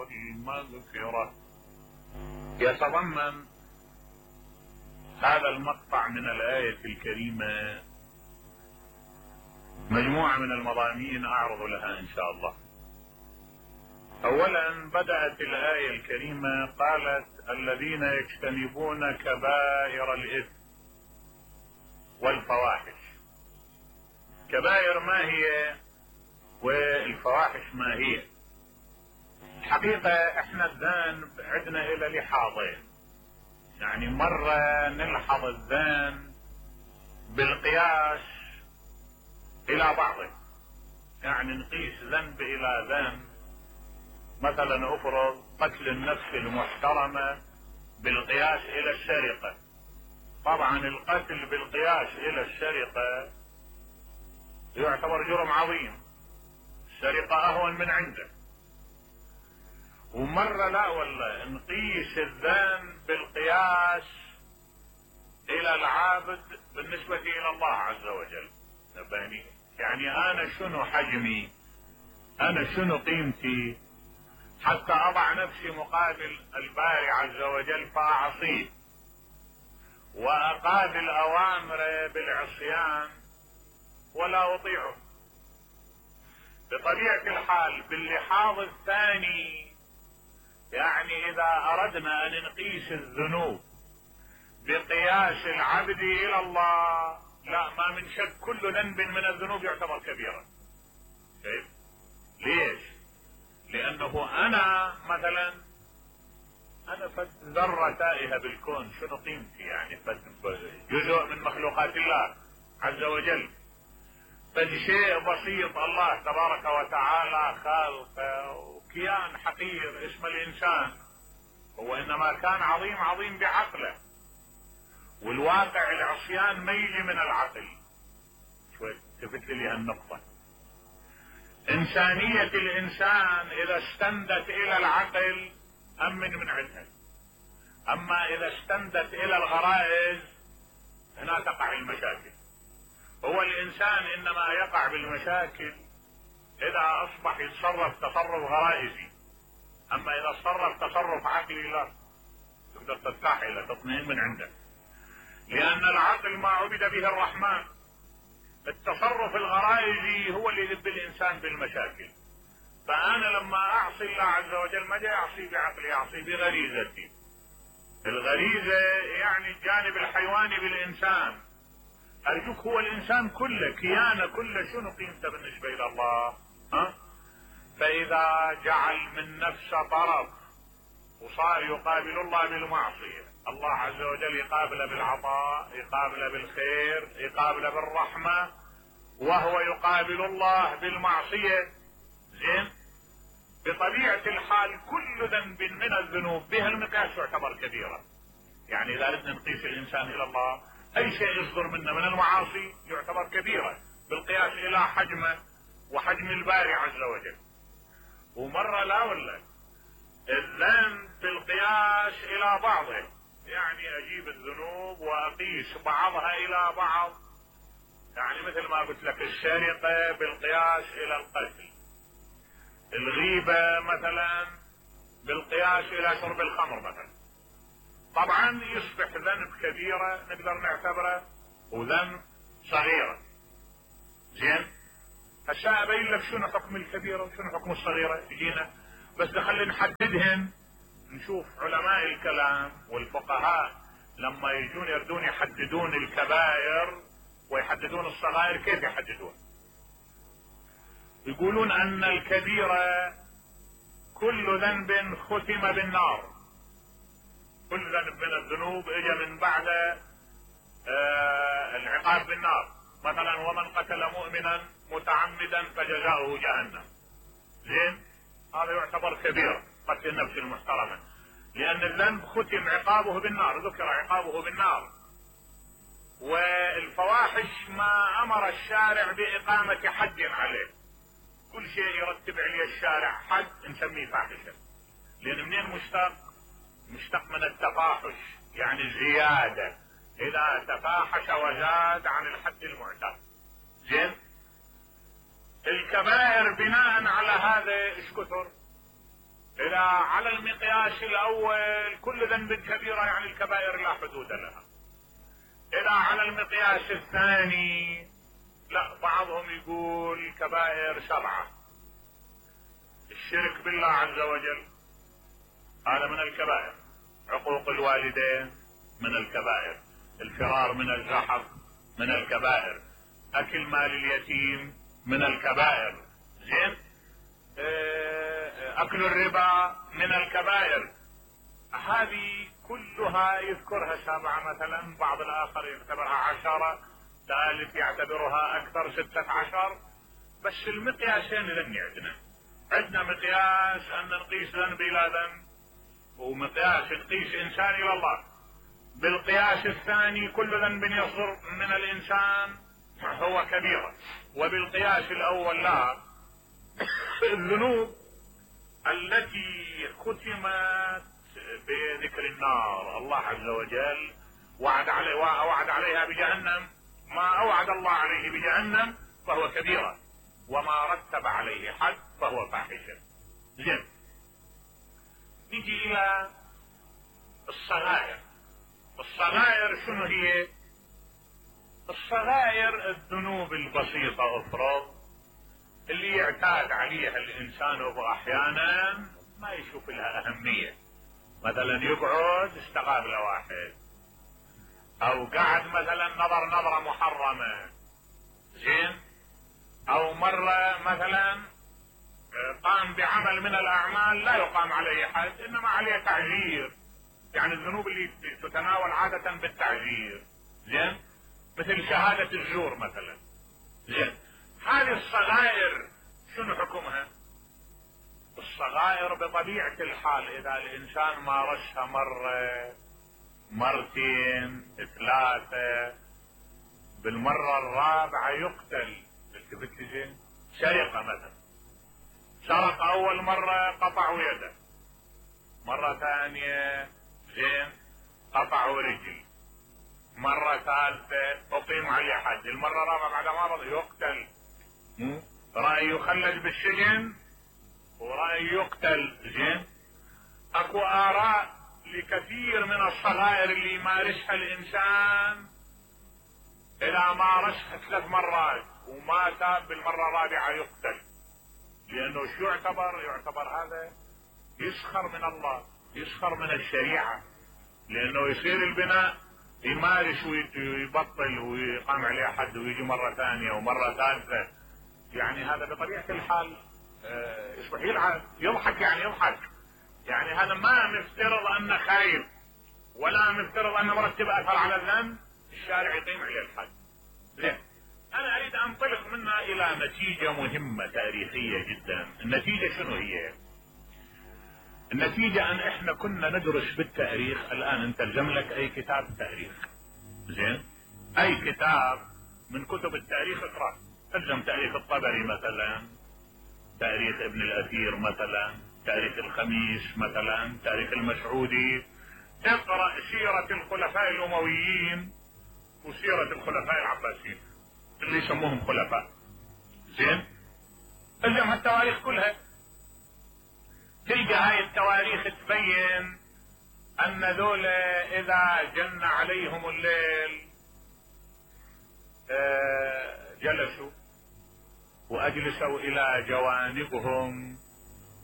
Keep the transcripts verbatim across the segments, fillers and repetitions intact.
المغفرة. يتضمن هذا المقطع من الآية الكريمة مجموعة من المضامين أعرض لها إن شاء الله. أولا بدأت الآية الكريمة قالت الذين يجتنبون كبائر الإثم والفواحش. كبائر ما هي والفواحش ما هي؟ الحقيقة احنا الذنب عندنا الى لحاظين، يعني مرة نلحظ الذنب بالقياس الى بعضه، يعني نقيس ذنب الى ذنب. مثلا افرض قتل النفس المحترمة بالقياس الى السرقة، طبعا القتل بالقياس الى السرقة يعتبر جرم عظيم، السرقة اهون من عنده. ومرة لا والله نقيس الذنب بالقياس الى العابد بالنسبة الى الله عز وجل. يعني انا شنو حجمي، انا شنو قيمتي حتى اضع نفسي مقابل الباري عز وجل فاعصيه واقابل اوامره بالعصيان ولا اطيعه. بطبيعة الحال باللحاظ الثاني، يعني اذا اردنا ان نقيس الذنوب بقياس العبد الى الله، لا ما من شك كل ذنب من الذنوب يعتبر كبيرا. كيف؟ ليش؟ لانه انا مثلا انا فد ذرة تائهة بالكون، شنو قيمتي؟ يعني فد جزء من مخلوقات الله عز وجل، فد شيء بسيط الله تبارك وتعالى خالقه وكيان حقير اسمه الانسان، هو انما كان عظيم عظيم بعقله، والواقع العصيان ما يجي من العقل. شوي تفت لي هالنقطة. انسانية الانسان اذا استندت الى العقل امن من عندها، اما اذا استندت الى الغرائز هنا تقع المشاكل. هو الانسان انما يقع بالمشاكل اذا اصبح يتصرف تصرف غرائزي، اما اذا تصرف تصرف عقلي لا تقدر ترتاح الى تطمئن من عنده، لان العقل ما عبد به الرحمن. التصرف الغرائزي هو اللي يذب الانسان بالمشاكل. فانا لما اعصي الله عز وجل ما جاي اعصي بعقلي، اعصي بغريزتي. الغريزة يعني الجانب الحيواني بالانسان. ارجوك هو الانسان كله كيانه كله شنو قيمته بالنسبة الى الله؟ ها؟ فاذا جعل من نفسه طرف وصار يقابل الله بالمعصية، الله عز وجل يقابله بالعطاء، يقابله بالخير، يقابله بالرحمة، وهو يقابل الله بالمعصية. زين؟ بطبيعة الحال كل ذنب من الذنوب بها المقياس يعتبر كبيرة. يعني اذا اردنا نقيس الانسان الى الله، اي شيء يصدر منه من المعاصي يعتبر كبيرة بالقياس الى حجمه وحجم الباري عز وجل. ومرة لا ولا الذنب بالقياس الى بعضه، يعني اجيب الذنوب واقيس بعضها الى بعض. يعني مثل ما قلت لك السرقة بالقياس الى القتل، الغيبة مثلا بالقياس الى شرب الخمر مثلا. طبعا يصبح ذنب كبيرة نقدر نعتبره وذنب صغيرة. زين؟ هسه ابين لك شنو حكم الكبيرة وشنو حكم الصغيرة يجينا، بس خلينا نحددهن. نشوف علماء الكلام والفقهاء لما يجون يردون يحددون الكبائر ويحددون الصغائر كيف يحددون؟ يقولون ان الكبيرة كل ذنب ختم بالنار. كل ذنب من الذنوب اجى من بعد آه العقاب بالنار. مثلا ومن قتل مؤمنا متعمدا فجزاؤه جهنم. زين؟ هذا يعتبر كبير، قتل النفس المحترمة، لان الذنب ختم عقابه بالنار، ذكر عقابه بالنار. والفواحش ما امر الشارع باقامة حد عليه. كل شيء يرتب عليه الشارع حد نسميه فاحشة، لان منين مشتق؟ مشتق من التفاحش، يعني الزيادة، اذا تفاحش وزاد عن الحد المعتاد. زين؟ الكبائر بناء على هذا ايش كثر؟ إذا على المقياس الأول كل ذنب كبيرة يعني الكبائر لا حدود لها. إذا على المقياس الثاني لا، بعضهم يقول كبائر سبعة. الشرك بالله عز وجل هذا من الكبائر، عقوق الوالدين من الكبائر، الفرار من الزحف من الكبائر، أكل مال اليتيم من الكبائر، زين، أكل الربا من الكبائر. هذه كلها يذكرها سبعة مثلا، بعض الآخر يعتبرها عشرة، ثالث يعتبرها أكثر ستة عشر. بس المقياسين ذني عندنا عندنا مقياس أن نقيس ذنب إلى ذنب، ومقياس نقيس إنسان إلى الله. بالقياس الثاني كل ذنب يصدر من الإنسان هو كبيرة، وبالقياس الأول لا. الذنوب التي ختمت بذكر النار، الله عز وجل وعد عليه وعد عليها بجهنم، ما اوعد الله عليه بجهنم فهو كبيرة، وما رتب عليه حد فهو فاحشة. زين، نجي الى الصغائر. الصغائر شنو هي؟ الصغائر الذنوب البسيطة افرض اللي يعتاد عليها الانسان واحيانا ما يشوف لها اهمية، مثلا يقعد استقابل واحد، او قعد مثلا نظر نظرة محرمة، زين، او مرة مثلا قام بعمل من الاعمال لا يقام عليه حد انما عليه تعزير، يعني الذنوب اللي تتناول عادة بالتعزير، زين، مثل شهادة الزور مثلا، زين. هذه الصغائر شنو حكمها؟ الصغائر بطبيعة الحال اذا الانسان مارسها مرة مرتين ثلاثة، بالمرة الرابعة يقتل. التفت زين، سرقة مثلا، سرق اول مرة قطعوا يده، مرة ثانية زين قطعوا رجل، مرة ثالثة اقيم عليه حد، المرة الرابعة بعد ما رضي يقتل. رأي يخلد بالسجن ورأي يقتل، زين. اكو اراء لكثير من الصغائر اللي يمارسها الانسان، اذا مارسها ثلاث مرات وما تاب بالمرة الرابعة يقتل، لانه شو يعتبر؟ يعتبر هذا يسخر من الله، يسخر من الشريعة، لانه يصير البناء يمارس ويبطل ويقام عليه حد ويجي مرة ثانية ومرة ثالثة، يعني هذا بطبيعة الحال يصبح يلعب يضحك، يعني يضحك، يعني هذا ما مفترض انه خايف ولا مفترض انه مرتب اثر على الذنب، الشارع يقيم عليه الحد. زين، انا اريد انطلق منها الى نتيجة مهمة تاريخية جدا. النتيجة شنو هي؟ النتيجة ان احنا كنا ندرس بالتاريخ، الان انت الزم لك اي كتاب تاريخ، زين، اي كتاب من كتب التاريخ اقرأ، الزم تاريخ الطبري مثلا، تاريخ ابن الاثير مثلا، تاريخ الخميس مثلا، تاريخ المسعودي، اقرأ سيرة الخلفاء الامويين وسيرة الخلفاء العباسيين اللي يسموهم خلفاء، زين، الزم التواريخ كلها، تلقى هاي التواريخ تبين ان ذول اذا جن عليهم الليل جلسوا واجلسوا الى جوانبهم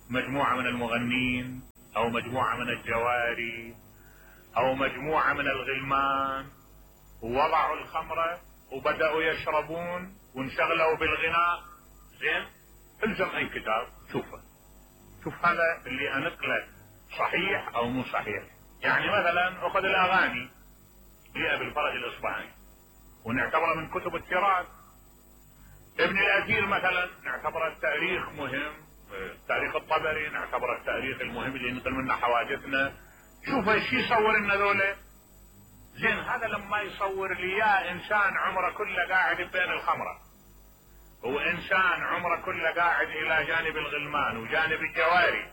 مجموعة من المغنين او مجموعة من الجواري او مجموعة من الغلمان، ووضعوا الخمرة وبدأوا يشربون وانشغلوا بالغناء، زين. الزم اي كتاب شوفه، شوف هذا اللي انقله صحيح او مو صحيح. يعني مثلا اخذ الاغاني لأبي الفرج الاصبهاني ونعتبره من كتب التراث، ابن الاثير مثلا نعتبره التاريخ مهم، تاريخ الطبري نعتبره التاريخ المهم اللي ينقل منه حوادثنا، شوف ايش يصور لنا ذولا، زين. هذا لما يصور لي يا انسان عمره كله قاعد بين الخمره، وانسان عمره كله قاعد الى جانب الغلمان وجانب الجواري،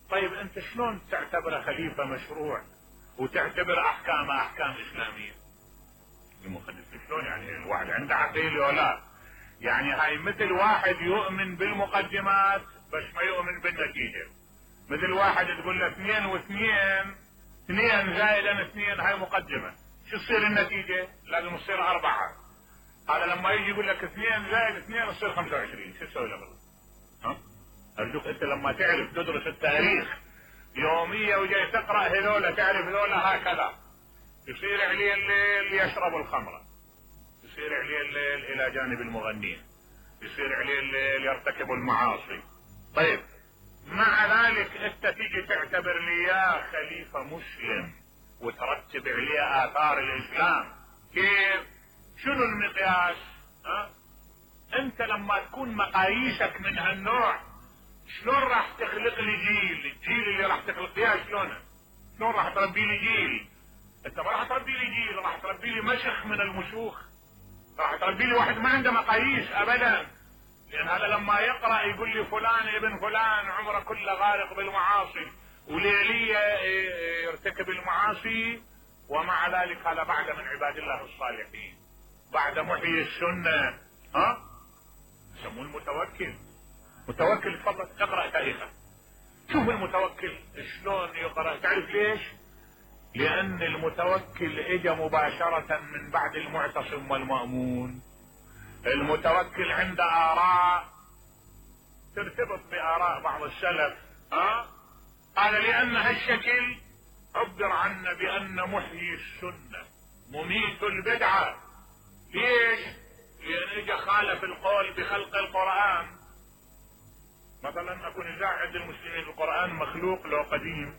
طيب انت شلون تعتبره خليفة مشروع وتعتبر احكامه احكام اسلامية؟ المخلف شلون يعني؟ الواحد عنده عقيل ولا؟ يعني هاي مثل واحد يؤمن بالمقدمات بس ما يؤمن بالنتيجة، مثل واحد تقول له اثنين واثنين، اثنين زائدا اثنين، هاي مقدمة، شو تصير النتيجة؟ لازم تصير اربعة. هذا لما يجي يقول لك اثنين زائد اثنين تصير خمسة وعشرين، شو تسوي له؟ ها؟ ارجوك انت لما تعرف تدرس التاريخ يومية وجاي تقرأ هذولا، تعرف هذولا هكذا. يصير عليه الليل يشرب الخمرة، يصير عليه الليل الى جانب المغنين، يصير عليه الليل يرتكب المعاصي. طيب مع ذلك انت تيجي تعتبر لي يا خليفة مسلم وترتب عليه اثار الاسلام، كيف؟ شنو المقياس؟ ها؟ انت لما تكون مقاييسك من هالنوع شلون راح تخلق لي جيل؟ الجيل اللي راح تخلق اياه شلونه؟ شلون راح تربي لي جيل؟ انت ما راح تربي لي جيل، راح تربي لي مشخ من المشوخ، راح تربي لي واحد ما عنده مقاييس ابدا. لان هذا لما يقرأ يقول لي فلان ابن فلان عمره كله غارق بالمعاصي وليلية يرتكب المعاصي، ومع ذلك هذا بعد من عباد الله الصالحين، بعد محيي السنة. ها؟ يسموه المتوكل. متوكل، تفضل اقرأ تاريخه، شوف المتوكل شلون يقرأ. تعرف ليش؟ لأن المتوكل اجى مباشرة من بعد المعتصم والمأمون. المتوكل عنده آراء ترتبط بآراء بعض السلف. ها؟ قال لأن هالشكل عبر عنه بأن محيي السنة مميت البدعة. ليش؟ لأن اجى خالف القول بخلق القرآن. مثلا اكون اذا عند المسلمين القرآن مخلوق لو قديم،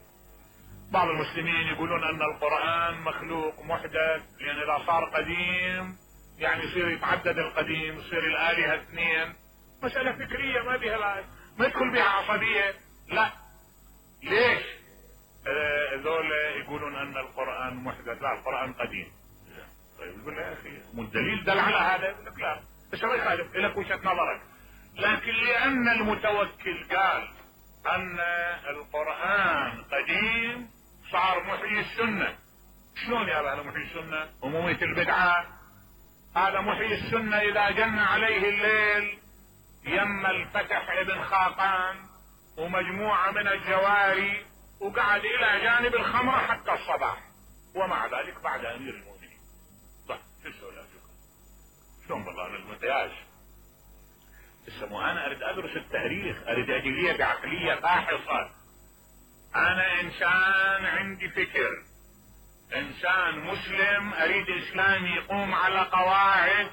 بعض المسلمين يقولون ان القرآن مخلوق محدث، لان اذا صار قديم يعني يصير يتعدد القديم، يصير الآلهة اثنين. مسألة فكرية ما بها، ما يدخل بها عصبية. لا، ليش؟ هذول يقولون ان القرآن محدث، لا القرآن قديم. طيب يقول له يا اخي مو الدليل دل على هذا؟ يقول لك لا، بس ما يخالف لك وجهة نظرك. لكن لأن المتوكل قال أن القرآن قديم صار محيي السنة. شلون يا هذا محيي السنة ومميت البدعة؟ هذا محيي السنة إذا جن عليه الليل يم الفتح ابن خاقان ومجموعة من الجواري وقعد إلى جانب الخمرة حتى الصباح، ومع ذلك بعد أمير المؤمنين. طيب شو السؤال؟ شلون والله أنا المقياس؟ اسمه انا اريد ادرس التاريخ، اريد اجي لي بعقلية فاحصة. انا انسان عندي فكر، انسان مسلم، اريد اسلام يقوم على قواعد،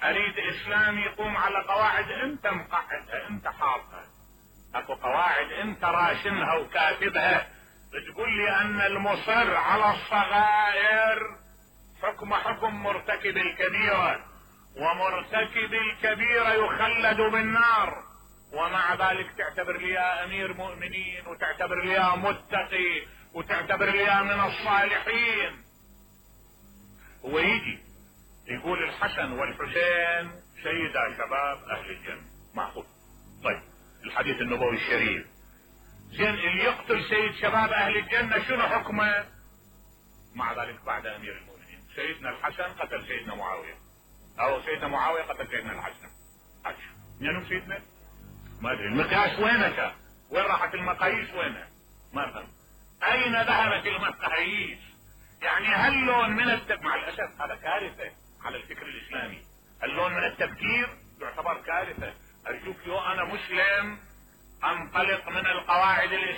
اريد اسلام يقوم على قواعد انت مقعدها، انت حاطها. اكو قواعد انت راشمها وكاتبها، بتقول لي ان المصر على الصغائر حكم حكم مرتكب الكبيرة، ومرتكب الكبيرة يخلد بالنار، ومع ذلك تعتبر لي يا امير مؤمنين وتعتبر لي يا متقي وتعتبر لي يا من الصالحين. هو يجي يقول الحسن والحسين سيدا شباب اهل الجنة، معقول؟ طيب الحديث النبوي الشريف، زين اللي يقتل سيد شباب اهل الجنة شنو حكمه؟ مع ذلك بعد امير المؤمنين سيدنا الحسن قتل سيدنا معاوية، او سيدنا معاوية قتل سيدنا الحسن. عش منو سيدنا؟ ما ادري المقياس وينك؟ وين راحت المقاييس؟ وينها؟ ما فهم. اين ذهبت المقاييس؟ يعني هاللون من التب... مع الاسف هذا كارثة على الفكر الاسلامي. اللون من التفكير يعتبر كارثة. ارجوك يو انا مسلم انطلق من القواعد الاسلامية.